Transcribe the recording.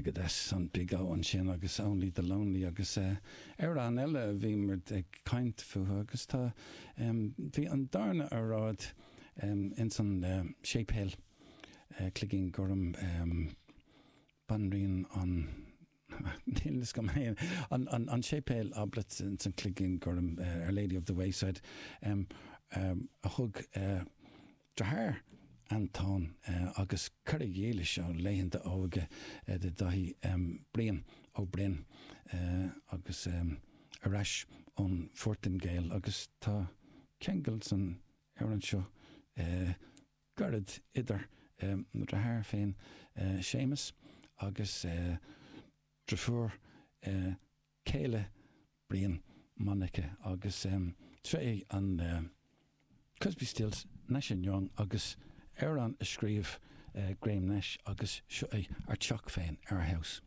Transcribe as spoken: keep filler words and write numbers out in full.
Megadeth, an Big O ansin agus Only the Lonely agus amhrán eile a bhí muid ag caint fúthu agus tá bhí an darna óráid ins an séipéal Cloigín Gorm Banríon an Níl fhios agam féin an séipéal Oblate ins an Cloigín Gorm Our Lady of the Wayside a thug deartháir Antóin agus cara dhílis ó laethanta óige de Daithí Brian Ó Broin agus ar ais ón Phortaingéil agus tá ceangal san amhrán seo gairid idir mo dheartháir féin Séamus agus deirfiúr céile Brian Monica agus seo é an Crosby Stills Nash and Young agus amhrán a scríobh Graham Nash agus seo é Ár dTeach Féin, Our House.